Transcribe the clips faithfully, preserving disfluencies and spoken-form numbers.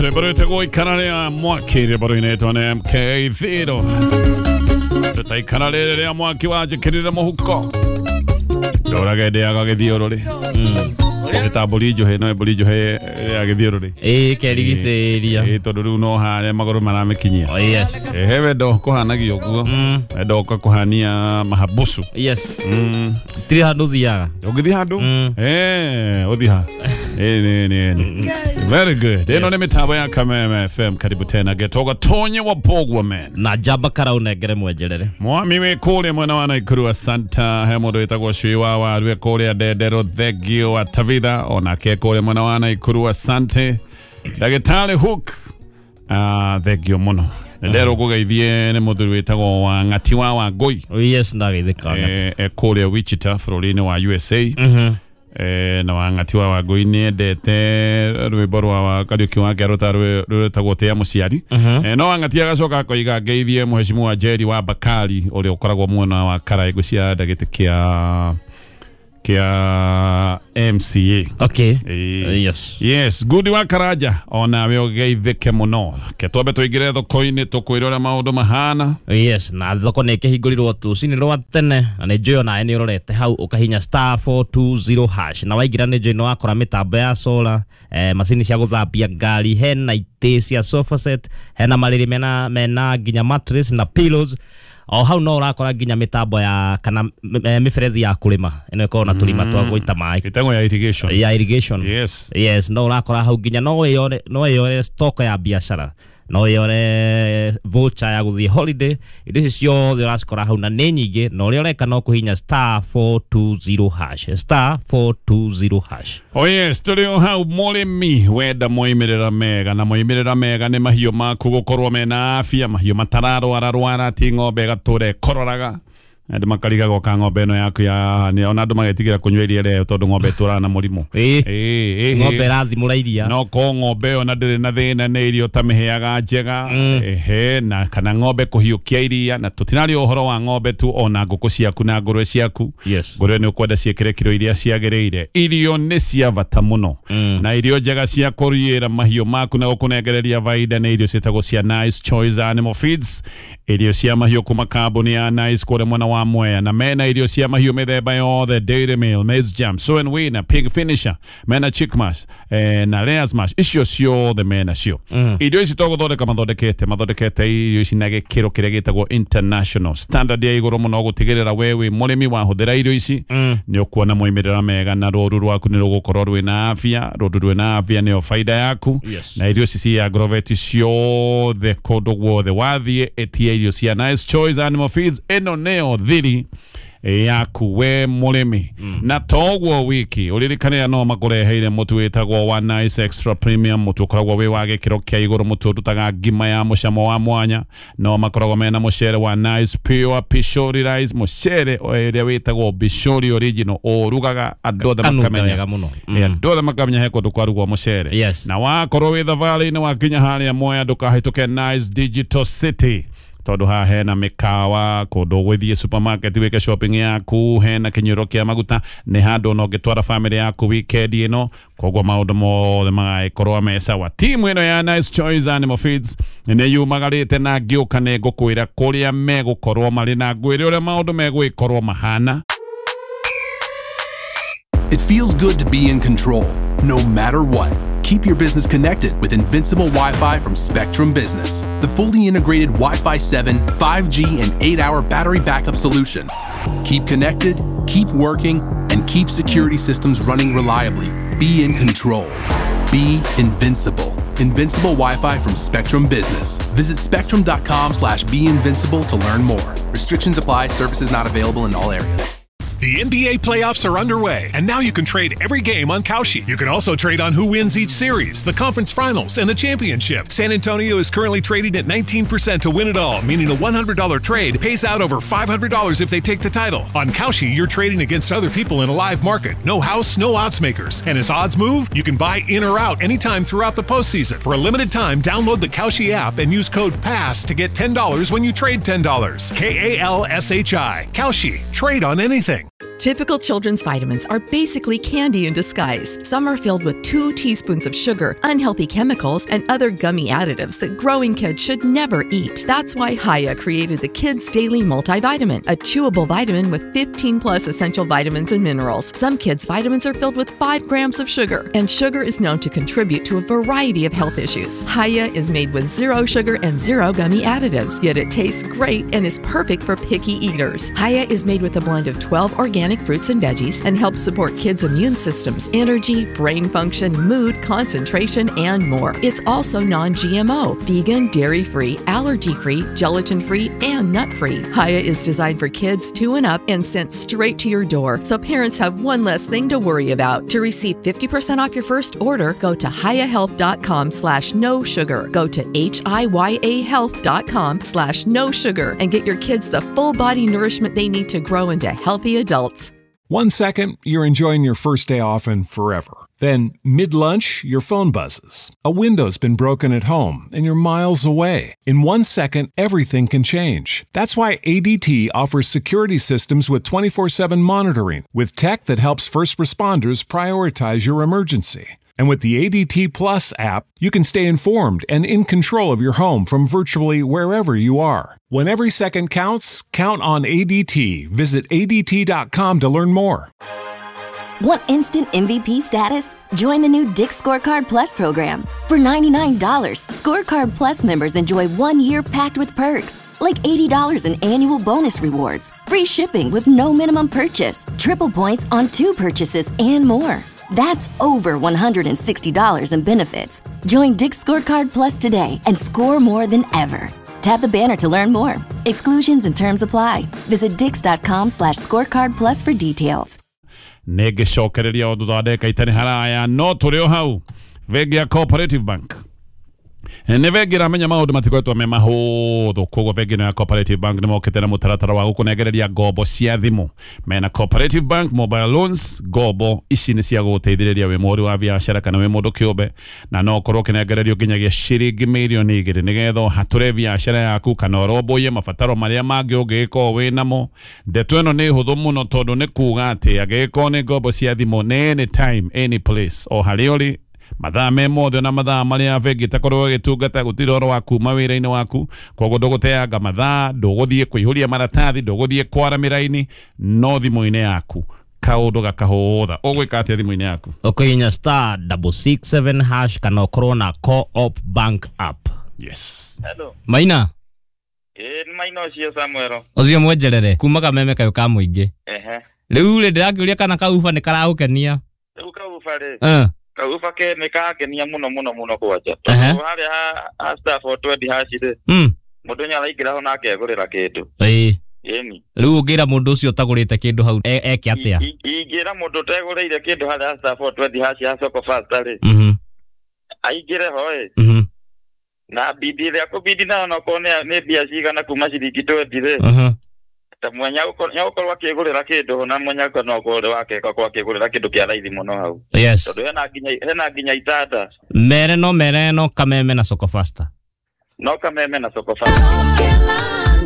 Rwĩmbo rwĩtagwo ikara rĩa mwaki, rwĩmbo rũinĩtwo nĩ M K Zero. Tũtaikara rĩrĩ rĩa mwaki wanjĩkĩrire mũhuko. Ndũrage ndĩaga gĩthiũrũrĩ. Nĩ ta mbũri njũhĩ, no mbũri njũhĩ ya gĩthiũrũrĩ. Ĩĩ kerigicĩria. Ĩĩ tondũ rĩu no harĩa magũrũ maramĩkinyia. Oh yes. Ehe wendo kũhanagia ũguo. Wendo ũka kũhania mahabusu. Yes. Tirĩ handũ ũthiaga. Ũngĩthiĩ handũ? Eh, ũthiĩ ha? Eh, nĩ nĩ nĩ. Very good. Ĩno nĩ mĩtambo ya Kameme F M. Karibu tena Getoga Tonye wa Bogwa man. Na njamba karau nengere mwenjerere. Mwami wĩ kũrĩa mwena wa Naikuru Asanta, he mũndũ wĩtagwo Cui wa Waru e kũrĩa Ndendero Thengio wa Tavitha onake kũrĩa mwena wa Naikuru Asante. Ndagĩtarĩ Hook ah thengio mũno. Ndero kũgeithie nĩ mũthuri wĩtagwo wa Ng'ati wa Wangũi. Yes, ndageithĩka Ng'ati. E kũrĩa Wichita bũrũri-inĩ wa U S A. Mhm. Eh na wa Ng'ati wa Wangũi nĩ endete rwĩmbo rwa Kariũki wa Kĩarũ ta rwĩtagwo Tĩa Mũciari. Eh no wa Ng'ati agacoka akoiga ngeithie mũhecimu Jerry wa Bakari ũrĩa ũkoragwo mwena wa Karaĩ ngũcia ndagĩtĩ kĩa kĩa M C A. Okay. E, yes. Yes, good wa Karaja ona we ũgeithĩke mũno. Ke twambe tũingĩre thoko-inĩ tũkwĩre ũrĩa maũndũ mahana. Yes, na thoko nĩ ĩkĩhingũrirwo rũcinĩ rwa tene na nĩ njũĩ onawe nĩ ũrorete hau ũkahinya star four two zero hash na waingĩra nĩ njũĩ nĩ wakora mĩtambo ya solar, eh, macini cia gũthambia ngari, hena itĩ cia sofa set, hena marĩrĩ mena mena nginya mattress na pillows. O hau no ũrakora nginya mĩtambo ya kana mĩberethi ya kũrĩma ĩno ĩkoragwo na tũrima twa gũita maĩ. Ĩtagwo ya irrigation. Ya irrigation. Yes. Yes, no ũrakora hau nginya no wĩyore no wĩyore stock ya biacara, no wĩyore voucher ya gũthiĩ holiday, indo ici ciothe ũracikora hau na nĩ nyingĩ, na ũrĩa ũreka no kũhinya star four two zero hash, star four two zero hash. Oh yes, tũrĩ o hau mũrĩmi wenda moimĩrĩra mega, na moimĩrĩra mega nĩ mahiũ maku gũkorwo mena afya, mahiũ matararwara rwara, ti ng'ombe ĩgatũra ĩkororaga. Andũ makarigagwo ka ng'ombe ĩno yaku ya nĩ ona andũ magetigĩra kũnyua iria rĩayo tondũ ng'ombe ĩtũraga na mũrimũ. Ĩĩ. Ĩĩ, Ng'ombe ĩrathimũra iria. No ko ng'ombe ĩyo na ndĩrĩ na thĩna nĩ irio ũtamĩheaga njega. Ehe, na kana ng'ombe kũhiũkia iria, na tũtinaria ũhoro wa ng'ombe tu, ona ngũkũ ciaku na ngũrwe ciaku. Yes. Ngũrwe nĩ ũkwenda ciĩkĩre kiro iria ciagĩrĩire. Irio nĩ cia bata mũno. Na irio njega cia kũriĩra mahiũ maku na gũkũnengereria baida nĩ irio ciĩtagwo cia Nice Choice Animal Feeds. Irio cia mahiũ kuma kambuni ya Nice kũrĩa mwena wa Mwea, na mena irio cia mahiũ mĩthemba yothe, dairy meal, maize jam, soy and winner, pig finisher, mena chick mash, eh, na layers mash, icio ciothe mena cio. Irio ici to gũthondeka mathondekete mathondekete irio ici na gĩkĩro kĩrĩa gĩtagwo international standard ya igũrũ mũno gũtigĩrĩra we wĩ mũrĩmi wahũthĩra irio ici nĩ ũkuona moimĩrĩra mega na rũru rwaku nĩ rũgũkorwo rwĩna afya, rũru rwĩna afya nĩyo faida yaku. Yes. Na irio ici cia Agrovet ciothe kũndũ guothe wathiĩ ĩtia irio cia Nice Choice Animal Feeds, ĩno nĩyo thiri yaku we mũrĩmi. Na toguo wiki ũririkane no makũreheire mũtu wĩtagwo wa Nice Extra Premium, mũtu ũkoragwo wĩ wa gĩkĩro kĩa igũrũ, mũtu ũrutaga ngima ya mũcamo wa mwanya. No makoragwo mena mũcere wa Nice Pure Pishori Rice, mũcere ũrĩa wĩtagwo Pishori Original, ũrugaga andũ othe makamenya mũno. Andũ othe makamenya he kũndũ kwarugwo mũcere. Yes. Na wakorwo wĩ thabarĩ-inĩ wakinya harĩa Mwea ndũkahĩtũke Nice Digital City, tondũ haha hena mĩkawa, kũndũ ũgũthiĩ supermarket wĩke shopping yaku, hena kĩnyuĩro kĩa maguta, nĩ handũ ona ũngĩtwara family yaku weekend ĩno, koguo maũndũ mothe magagĩkorwo me sawa. Timu ĩno ya Nice Choice Animal Feeds nĩ yumagarĩte na ngĩũka nĩ ngũkwĩra kũrĩa megũkorwo marĩ na ngwĩre ũrĩa maũndũ megũgĩkorwo mahana. It feels good to be in control, no matter what. Keep your business connected with Invincible Wi-Fi from Spectrum Business, the fully integrated Wi-Fi seven, five G, and eight hour battery backup solution. Keep connected, keep working, and keep security systems running reliably. Be in control. Be invincible. Invincible Wi-Fi from Spectrum Business. Visit spectrum dot com slash be invincible to learn more. Restrictions apply. Services not available in all areas. The N B A playoffs are underway, and now you can trade every game on Kalshi. You can also trade on who wins each series, the conference finals, and the championship. San Antonio is currently trading at nineteen percent to win it all, meaning a one hundred dollar trade pays out over five hundred dollars if they take the title. On Kalshi, you're trading against other people in a live market. No house, no odds makers. And as odds move, you can buy in or out anytime throughout the postseason. For a limited time, download the Kalshi app and use code PASS to get ten dollars when you trade ten dollars. K A L S H I. Kalshi. Trade on anything. Typical children's vitamins are basically candy in disguise. Some are filled with two teaspoons of sugar, unhealthy chemicals, and other gummy additives that growing kids should never eat. That's why Hiya created the Kids Daily Multivitamin, a chewable vitamin with fifteen plus essential vitamins and minerals. Some kids' vitamins are filled with five grams of sugar, and sugar is known to contribute to a variety of health issues. Hiya is made with zero sugar and zero gummy additives, yet it tastes great and is perfect for picky eaters. Hiya is made with a blend of twelve organic fruits and veggies and helps support kids' immune systems, energy, brain function, mood, concentration, and more. It's also non G M O, vegan, dairy-free, allergy-free, gelatin-free, and nut-free. Hiya is designed for kids two and up and sent straight to your door, so parents have one less thing to worry about. To receive fifty percent off your first order, go to hiya health dot com slash no sugar. Go to H I Y A health dot com slash no sugar and get your kids the full body nourishment they need to grow into healthy adults. One second, you're enjoying your first day off and forever. Then, mid-lunch, your phone buzzes. A window's been broken at home, and you're miles away. In one second, everything can change. That's why A D T offers security systems with twenty-four seven monitoring, with tech that helps first responders prioritize your emergency. And with the A D T Plus app, you can stay informed and in control of your home from virtually wherever you are. When every second counts, count on A D T. Visit A D T dot com to learn more. Want instant M V P status? Join the new Dick's Scorecard Plus program. For ninety-nine dollars, Scorecard Plus members enjoy one year packed with perks, like eighty dollars in annual bonus rewards, free shipping with no minimum purchase, triple points on two purchases, and more. That's over one hundred sixty dollars in benefits. Join Dick's Scorecard Plus today and score more than ever. Tap the banner to learn more. Exclusions and terms apply. Visit dicks.com slash scorecard plus for details. Nĩngĩcokereria o thutha wa ndagĩka itarĩ haraya no tũrĩ o hau. Bengi ya Cooperative Bank nĩ bengi ĩramenya maũndũ matikoretwo me mahũthũ, koguo bengi ĩno ya Cooperative Bank nĩ mokĩte na mũtaratara wa gũkũnengereria ngombo cia thimũ. Mena Cooperative Bank Mobile Loans. Ngombo ici nĩ cia gũgũteithĩrĩria wĩ mũhũri wa biacara kana wĩ mũndũ kĩũmbe, na no ũkorwo ũkĩnengererio nginyagia ciringi mirioni igĩrĩ nĩgetha ũhatũre biacara yaku kana ũrũmbũiye mabataro marĩa mangĩ ũngĩgĩkorwo wĩ namo. Ndeto ĩno nĩ hũthũ mũno tondũ nĩ kuga atĩ angĩgĩkorwo nĩ ngombo cia thimũ nĩ anytime any place, o harĩa ũrĩ mathaa me mothe na mathaa marĩa bengi ĩtakorwo ĩgĩtungata, gũtirĩ ũhoro wa kuma wĩra-inĩ waku, koguo ndũgũteanga mathaa, ndũgũthiĩ kũihũria maratathi, ndũgũthiĩ kwara mĩraini, no thimũ-inĩ yaku kaũndũ gakahũtha. Ũgwĩka atĩa thimũ-inĩ yaku? Ũkũhihinya star double six seven hash kana ũkorwo na Co-op Bank app. Yes. Hello. Maina. Ĩĩ nĩ Maina ũcio Samuel. Ũcio mwenjerere kuma kameme kayũ ka mũingĩ. Ehe. Rĩu rĩ ndĩrakĩũria kana kauba nĩ karagũkenia. Rĩu kauba rĩ. Eh. Kauba ke nĩ kangenia mũno mũno mũno kwanja. Tondũ harĩa ha star four twenty hash rĩ. Mm. Mũndũ nĩ araingĩra ho na akegũrĩra kĩndũ. Ĩĩ. Ĩni. Rĩu ũngĩra mũndũ ũcio ũtagũrĩte kĩndũ hau eke atĩa? Ingĩra mũndũ ũtegũrĩire kĩndũ harĩa star four twenty hash ya Soko Fasta rĩ. Mhm. Aingĩre ho ĩ. Mhm. Na bidi ĩrĩa kũbidi nayo onokorwo nĩ mbia cigana kuma ciringi twenty rĩ. Mhm. Ta mwenya nĩagũkorwo akĩgũrĩra kĩndũ na mwenya no ũkorwo wake akorwo akĩgũrĩra kĩndũ kĩa raithi mũno hau. Yes. Tondũ hena nginya hena nginya itanda. Mere no mere no kameme na Soko Fasta. No kameme na Soko Fasta.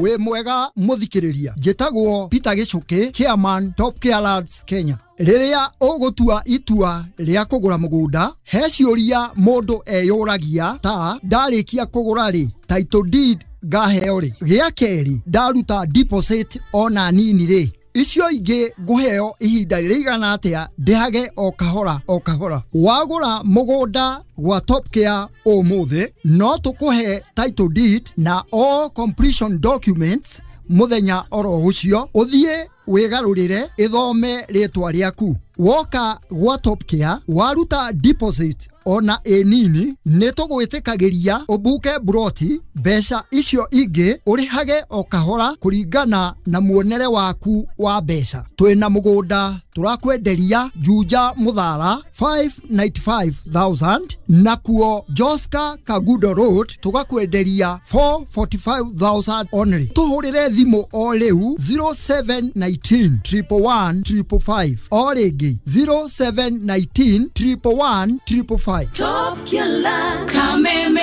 Wĩ mwega mũthikĩrĩria, njĩtagwo Peter Gĩcũkĩ, chairman Top Care Lads Kenya. Rĩrĩa ũgũtua itua rĩa kũgũra mũgũnda, he ciũria mũndũ eyũragia ta ndarĩkia kũgũra rĩ, title deed ngaheo rĩ, gĩa kerĩ ndaruta deposit ona nini rĩ, icio ingĩ ngũheo ihinda rĩigana atĩa ndĩhage o kahora o kahora. Wagũra mũgũnda gwa Top Care ũmũthĩ, no tũkũhe title deed na all completion documents mũthenya oro ũcio, ũthiĩ wĩgarũrĩre ĩthome rĩtwa rĩaku. Woka gwa Top Care waruta deposit ona ĩ nini, nĩ tũgwĩtĩkagĩria ũbuke buroti, mbeca icio ingĩ ũrĩhage o kahora kũringana na muonere waku wa mbeca. Twĩna mũgũnda tũrakwenderia Juja Mũthara five ninety-five thousand, nakuo Joska Kagudo Road tũgakwenderia four forty-five thousand only. Tũhũrĩre thimũ o rĩu zero seven nineteen triple one triple five, o rĩngĩ zero seven nineteen triple one triple five. Top Killer Kameme.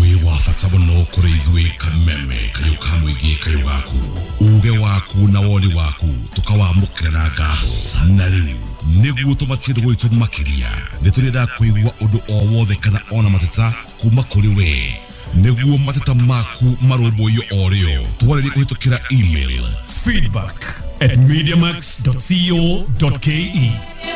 Wĩ wa bata bata mũno kũrĩ ithuĩ Kameme, kayũ ka mũingĩ, kayũ gaku, uge waku na woni waku tũkawamũkĩra na ngatho. Na rĩu nĩguo tũmatie ndũgũ itũ makĩria, nĩ tũrĩendaga kũigua ũndũ o wothe kana ona mateta kuma kũrĩ we, nĩguo mateta maku marũmbũiyo o rĩo. Twarĩrie kũhĩtũkĩra email feedback at mediamax dot co dot ke.